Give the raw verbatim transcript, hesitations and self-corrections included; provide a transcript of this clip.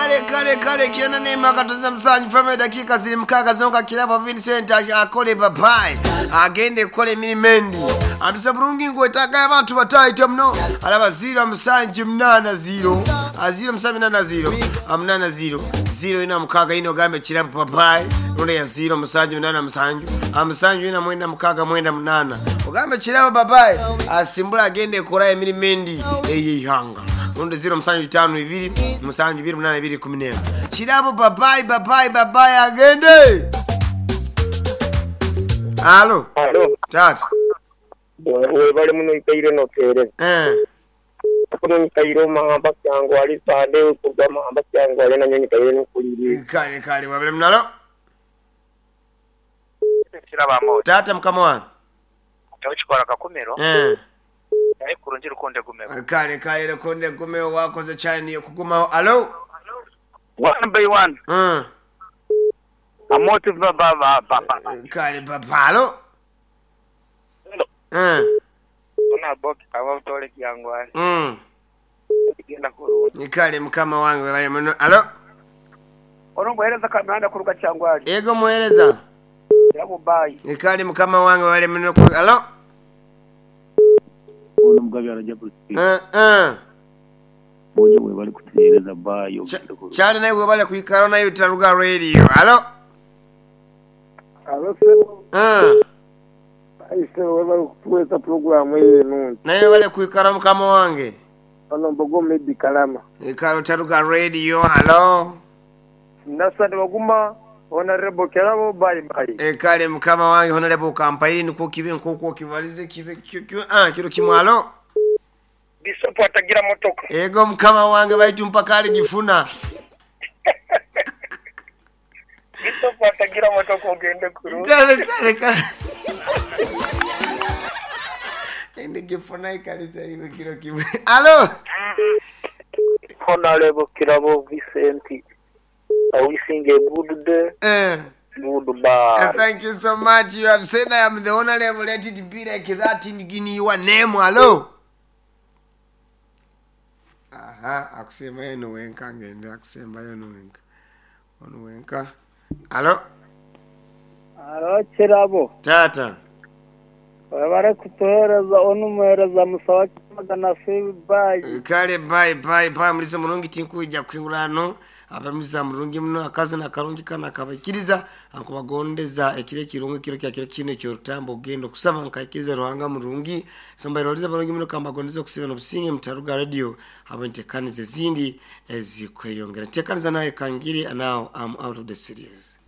Kale kale kale kyenda nema katoza musanju fame dakika ziri mukaaga zonka Kirabo Vincent akole babayi agende kukola emirimu endi anduse bulungi ngwetaaga abantu batayita muno alaba ziro musanju munaana ziro ziro musanju munaana ziro munaana ziro ziro ina mukaaga ino ogambe Kirabo babayi nonde ya ziro musanju munaana musanju musanju ina mwenda mukaaga mwenda munaana ogambe Kirabo babayi asimbula agende kukola emirimu endi eyeihanga rundi ziro musanju bitano bibiri musanju bibiri munana bibiri kumi n'emwe Kirabo babayi babayi babayi agende. Alo. Alo. Tata. Webale muno ikaire notereza. Eh. Kuno nikaire mahamba kyangu ali sande kuga mahamba kyangu ali nanyo nikaire nukuliri. Kale kale wabale munalo. Kiraba mo. Tata mukama wange. Tawchikola kakumiro. Eh. Naye kurungi rukonde gumeo. Kale kale rukonde gumeo wakoze cyane kugumaho. Alo. One by one. Mm. Amoti ba ba ba ba. Kale papa alo. Mm. Ona box aba utole kyangwa. Mm. Genda kurungi. Kale mukama wange bale muno. Alo. Ono muhereza kamanda kuruka kyangwa. Ego muhereza. Yabo bye. Kale mukama wange bale muno. Alo. Ono mugabi araja kusikia. Eh eh. Bojo we bali kutereza bayo. Chali naye we bali kuikara nayo Taruga Radio. Alo. Alo sebo. Eh. Aise we bali kutuweza program yenu. Naye bali kuikara mukama wange. Ono mbogo mebi kalama. Ikaro Taruga Radio. Alo. Nasante baguma Honorable Kirabo bye bye. E kale mukama wange Honorable kampairi niko kibe nkoko kibalize kibe kyo ah kiro kimwalo. Bishop atagira motoka. Ego mukama wange baitu mpaka ali gifuna. Bishop atagira motoka ogende kuru. Kale kale kale. Ende gifuna ikaliza iwe kiro kimwe. Alo. Honorable Kirabo Vincent. I wishing a good day. Eh. Goodbye. Uh, thank you so much. You have said I am the honorable. Let it be like that in Guinea. Your name, hello. Aha, akusema yenu wenka ngende akusema yenu wenka. Onu wenka. Hello. Alo Kirabo. Tata. Wabare kutuhereza onu muhereza musawa magana bye. Kale bye bye bye mulisa mulungi tinkuja kwingurano. Abamiza mulungi muno akazi na karungi kana kabakiriza akubagondeza ekire kirungi kiro kya kiro kine kyo rutambo gendo kusaba nkaikiriza Ruhanga mulungi sombairoliza balungi muno kambagondeza kusiba no businge Mtaruga Radio abo ntekanize zindi ezikweyongera ntekaniza naye kangiri and now I'm out of the studios.